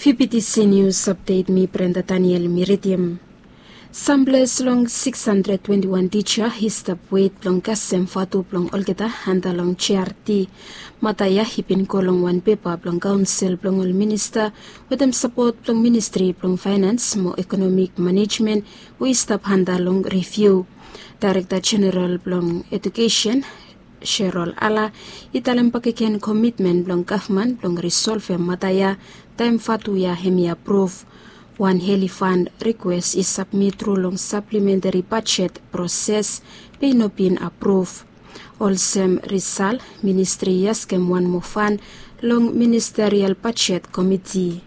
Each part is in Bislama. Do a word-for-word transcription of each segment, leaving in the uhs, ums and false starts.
P P T C News Update, mi Brenda Daniel mi ridim. Sam ples long six hundred twenty-one tija i stap wet blong kasem vatu blong olgeta anda long G R T. Mata ya i bin go long wan pepa blong kaonsel blong ol minista wetem sapot blong Ministri blong Faenans mo Ekonomik Manejmen we i stap anda long riviu. Daerekta Jeneral blong Edukesen, Sherol Ala, i talem bakegen komitmen blong gavman blong risolvem mata ya taem vatu ya hemi apruv. Wan heli fan rikwes i sabmit tru long saplementeri bajet proses be i no bin apruv. Olsem risal, ministri i askem wan moa fan long ministerial bajet komiti.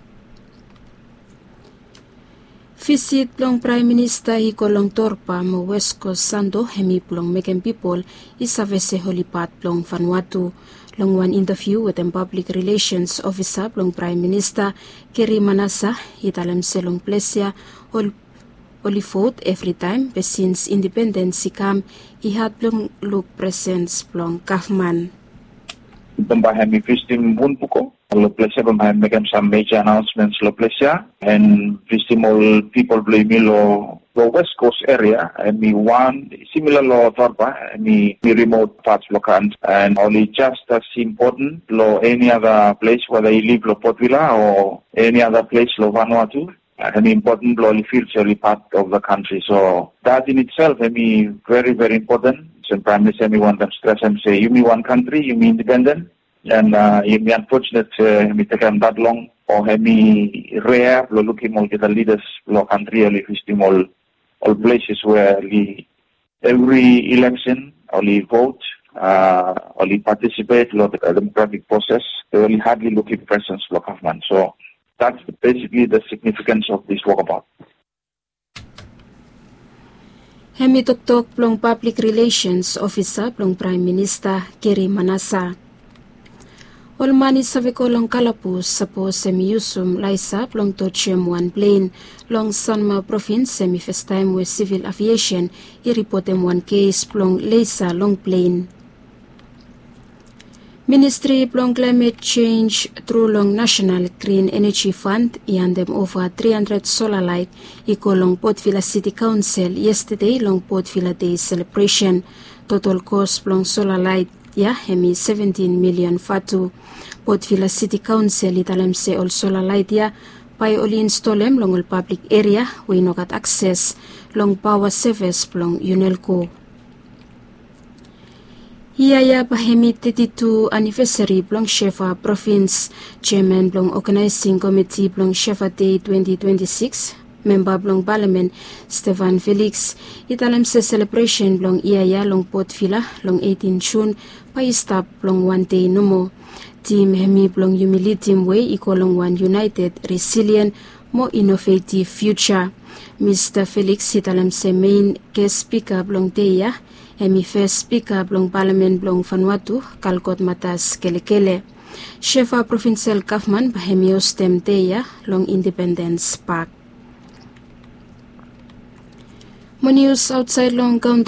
Visit blong Praem Minista i go long Torba mo West Coast Santo hemi blong mekem pipol i save se oli pat blong Vanuatu. Long wan intaviu wetem pablik rilesens ofisa blong Praem Minista, Keri Manasa, i talem se long ples ya ol oli vot evritaem be sins indipendens i kam, i had blong luk presens blong gavman. Bambae hemi visitim Wunpuko. Long ples ya bambae hemi mekem sam meja anaonsments long ples ya, and visitim ol pipol blong yumi long West Coast eria, hemi wan similar long Torba, hemi rimot pats blong kantri, and oli jas as impoten long eni ada ples, weda i liv long Port Vila o eni ada ples long Vanuatu. Hemi impoten blong oli fil se oli pat of the country. So that in itself hemi very very impoten. Olsem Praem Minista hemi wantem stresem se yumi wan kantri, yumi indipenden, and yumi anfojenet se hemi tekem that long o hemi rea blong lukim olgeta lidas blong kantri oli visitim ol places we oli evri ileksen oli vot, oli patisipet long demokratik proses, be oli hadli lukim presens blong gavman. So that's basically the significance of this walkabout. Hemi toktok blong pablik rilesens ofisa blong Praem Minista, Keri Manasa. Ol man i save go long kalabus sapos hemi yusum laesa blong tojem wan plen. Long Sanma provins hemi fastaem we Sivil Aviesen i ripotem wan kes blong laesa long plen. Ministri blong Klaemet Jenj tru long Nasenal Grin Eneji Fan i handem ova tri handred sola laet i go long Port Vila Siti Kaonsel yestede long Port Vila Dei selebresen. Totol kos blong sola laet ya hemi seventin milion vatu. Port Vila Siti Kaonsel i talem se ol sola laet ya bae oli instolem long ol pablik eria we i no gat akses long paoa sevis blong Unelco. Yia ya bae hemi teti tu anivesari blong Shefa provins. Jeaman blong oganaesing komiti blong Shefa Dei twenti twenti sikis, memba blong palamen, Stefan Feliks, i talem se selebresen blong yia ya long Port Vila long eitin Jun bae i stap long wan dei nomo. Tim hemi blong yumi lidim we i go long wan yunaeted, resilien mo inovetiv fiuja. Mista Feliks i talem se mein ges spika blong dei ya hemi fes spika blong palamen blong Vanuatu, Kalkot Matas Kelekele. Shefa provinsel gavman bae hemi hostem dei ya long Indipendens Pak. Mo nius aotsaed long kantri.